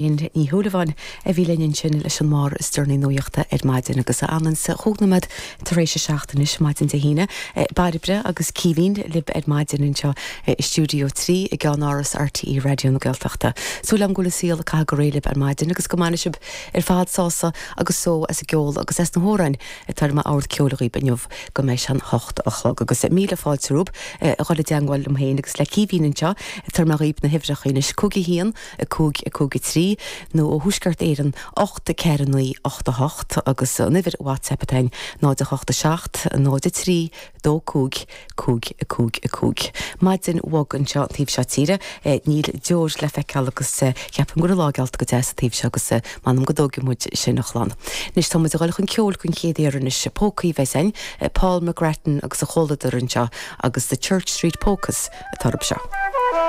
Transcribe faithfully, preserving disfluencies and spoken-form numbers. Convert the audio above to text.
Ní Shúilleabháin a bhí linn ansin leis an mbarr is deireanaí nuachta ar maidin agus ann sa chúig nóiméad tar éis a seacht anois maidin Dé hAoine. Bairbre agus Caoimhín libh ar maidin anseo i stiúideo trí i gceannáras RTÉ Raidió na Gaeltachta. Súil agam go bhfuil an saol ag caitheamh go réidh libh ar maidin agus go mbainfidh sibh ar fad sásamh agus só as an gceol agus as na hamhráin atá ar m'ord ceoil dhaoibh inniu go mbeidh sé an hocht a chlog agus míle fáilte romhaibh a dhul i dteagmháil liom féin agus le Caoimhín anseo tabharfaidh mé dhaoibh na huimhreacha anois cúig a haon a cúig a cúig a trí nó ó Thuaisceart Éireann ocht ceathair naoi ocht a hocht agus an uimhir WhatsApp atá ann náid a hocht a seacht náid a trí dó cúig cúig a cúig a cúig. Maidin bhog anseo an taobh seo tíre níl deoir le feiceáil agus ceapaim go bhfuil an lá geallta go deas an taobh seo agus m'anam go dtógfaidh muid sin a chlann. Anois tá muid ag dul chun ceoil den chéad uair anois pócaí a bheas ann, Paul McGrattan agus a chomhluadar anseo agus The Church Street Polkas atá orthu seo.